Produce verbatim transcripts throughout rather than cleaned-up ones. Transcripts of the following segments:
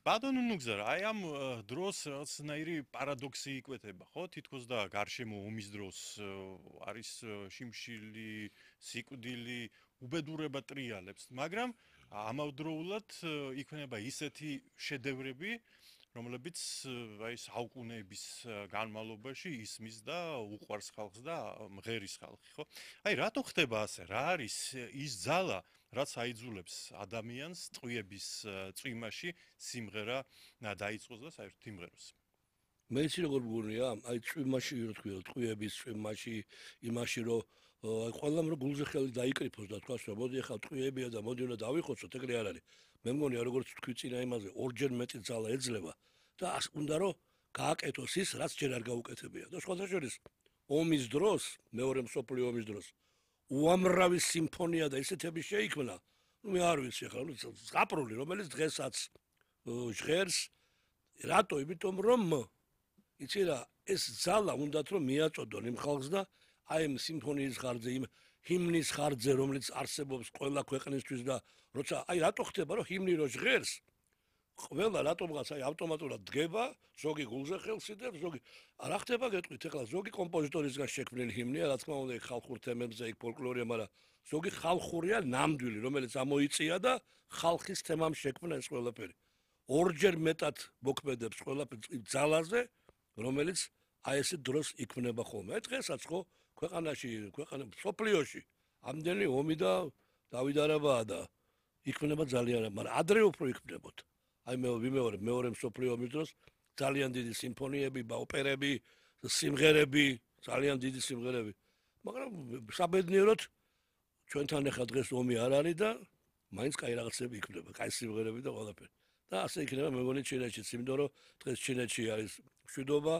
ბატონო ნუგზარ, აი ამ დროს რაღაცნაირი პარადოქსი იკვეთება, ხო? თითქოს და გარშემო ომის დროს არის შიმშილი, სიკვდილი, უბედურება ტრიალებს, მაგრამ ამავდროულად იქნება ისეთი შედევრები, რომლებიც აი საუკუნეების განმავლობაში ისმის და უყვარს ხალხს და მღერის ხალხი, ხო? აი რატო ხდება ასე? რა არის ის ძალა, რაც აიძულებს ადამიანს ტყვიების წვიმაში სიმღერა დაიწყოს და საერთოდ იმღეროს? მე იცი როგორ მგონია, აი წვიმაში რო თქვი, ტყვიების წვიმაში, იმაში რომ აი ყველამ რო გულზე ხელი დაიკრიფოს და თქვას რომ მოდი ახლა ტყვიებია და მოდი უნდა დავიხოცოთ, ეგრე არ არის. მე მგონია როგორც თქვი წინა იმაზე, ორჯერ მეტი ძალა ეძლევა და უნდა რომ გააკეთოს ის, რაც ჯერ არ გაუკეთებია. და სხვათა შორის ომის დროს, მეორე მსოფლიო ომის დროს უამრავი სიმფონია და ისეთები შეიქმნა. ნუ მე არ ვიცი ახლა, ნუ ზღაპრული, რომელიც დღესაც ჟღერს, რატო? იმიტომ რომ იცი რა, ეს ძალა უნდათ რომ მიაწოდონ იმ ხალხს და აი ამ სიმფონიის ხარჯზე, იმ ჰიმნის ხარჯზე, რომელიც არსებობს ყველა ქვეყნისთვის და როცა აი რატო ხდება რომ ჰიმნი რო ჟღერს, ყველა რატომღაც აი ავტომატურად დგება, ზოგი გულზე ხელს იდებს, ზოგი რა ხდება გეტყვით ახლა ზოგი კომპოზიტორისგან შექმნილი ჰიმნია, რა თქმა უნდა, იქ ხალხურ თემებზე, იქ ფოლკლორია, მაგრამ ზოგი ხალხურია ნამდვილი, რომელიც ამოიწია და ხალხის თემამ შექმნა ეს ყველაფერი. ორჯერ მეტად მოქმედებს ყველაფერი ძალაზე, რომელიც აი ესე დროს იქმნება ხოლმე. აი დღესაც ხო ქვეყანაში, ქვეყანაში, სოფლიოში ამდენი ომი და დავიდარებაა და იქმნება ძალიან, მაგრამ ადრე უფრო იქმნებოდა. აი მე ვიმეორებ მეორე მსოფლიო ომის დროს ძალიან დიდი სიმფონიები, ოპერები, სიმღერები, ძალიან დიდი სიმღერები. მაგრამ საბედნიეროდ ჩვენთან ახლა დღეს ომი არ არის და მაინც კაი რაღაცები იქმნება, კაი სიმღერები და ყველაფერი. და ასე იქნება მე მგონი ჩინეთშიც, იმიტომ რომ დღეს ჩინეთში არის მშვიდობა,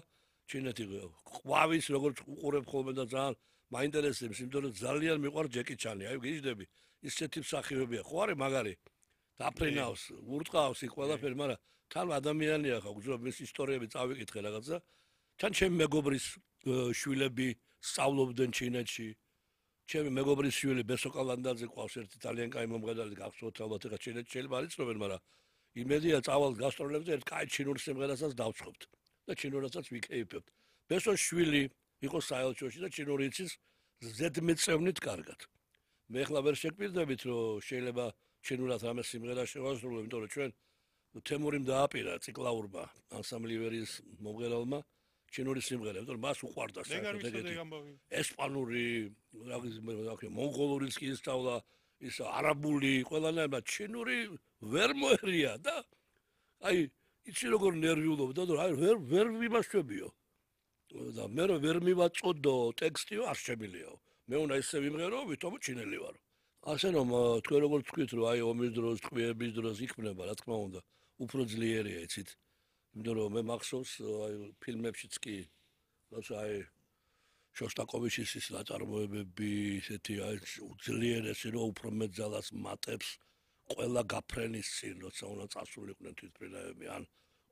ჩინეთი ყვავის როგორც უყურებ ხოლმე და ძალიან მაინტერესებს, იმიტომ რომ ძალიან მიყვარს ჯეკი ჩანი, აი გიждდები, ისეთი მსახიობია, ხო არის მაგარი. დაფრინავს, ურტყავს იქ ყველაფერი, მაგრამ თან ადამიანია ხა, გძნობ მის ისტორიები წავიკითხე რაღაცა. თან ჩემი მეგობრის შვილები სწავლობდნენ ჩინეთში. ჩემი მეგობრის შვილი ბესოკალანდაძე ყავს ერთი ძალიან კაი მომღერალი, გახსოვთ ალბათ ეხა ჩინეთში შეიძლება არ იცნობენ, მაგრამ იმედია წავალ გასტროლებზე ერთ კაი ჩინურ სიმღერასაც დავწყობთ და ჩინურასაც ვიკეიფებთ. ბესოს შვილი იყო საელჩოში და ჩინური იცის ზედმეტწევნით კარგად. მე ახლა ვერ შეგპირდებით, რომ შეიძლება ჩინურად რამე სიმღერა შევასრულო, იმიტომ რომ ჩვენ თემურიმ დააპირა ციკლაურმა ანსამბლივერის მომღერალმა ჩინური სიმღერა, იმიტომ რომ მას უყვარდა საერთოდ ეგეთი. ესპანური, რა ვიცი, მონღოლურიც კი ისწავლა, ის არაბული, ყველანაირად ჩინური ვერ მოერია და აი იცი როგორ ნერვიულობდა და აი ვერ ვერ ვიმაშვებიო. და მე რო ვერ მივაწოდო ტექსტიო არ შემიძლიაო. მე უნდა ისე ვიმღერო, ვითომ ჩინელი ვარო. ასე რომ თქვენ როგორ თქვით რომ აი ომის დროს, ტყვიების დროს იქმნება, რა თქმა უნდა, უფრო ძლიერია იცით. იმიტომ რომ მე მახსოვს აი ფილმებშიც კი, როცა აი შოსტაკოვიჩის ის ნაწარმოებები, ისეთი აი ძლიერესი რომ უფრო მეტ ძალას მატებს ყველა გაფრენის წინ, როცა უნდა წასულიყვნენ თვითმფრინავები, ან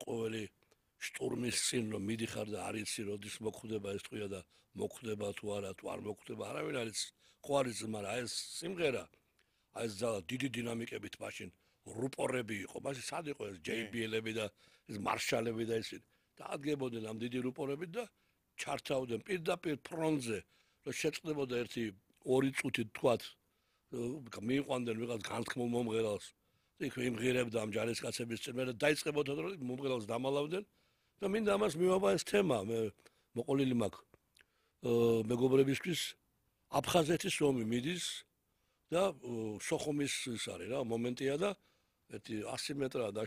ყოველი შტურმის წინ რომ მიდიხარ და არ იცი როდის მოხვდება ეს ტყვია და მოხვდება თუ არა, თუ არ მოხვდება, არავინ არ იცის. ხო არის, მაგრამ აი ეს სიმღერა, აი ეს ძალა დიდი დინამიკებით მაშინ რუპორები იყო, მაშინ სად იყო ეს ჯეი ბი ელები და ეს მარშალები და ისინი. დაადგებოდნენ ამ დიდი რუპორებით და ჩართავდნენ პირდაპირ ფრონტზე, რომ შეწყდებოდა ერთი ორი წუთი თქვათ, მიიყვანდნენ ვიღაც განთქმულ მომღერალს. იქ იმღერებდა ამ ჯარისკაცების წინ, მე დაიწყებოდა რომ მომღერალს დამალავდნენ და მინდა ამას მივაბა ეს თემა, მე მოყოლილი მაქვს მეგობრებისთვის აფხაზეთის ომი მიდის და სოხუმის ის არის რა მომენტია და ერთი ასი მეტრა და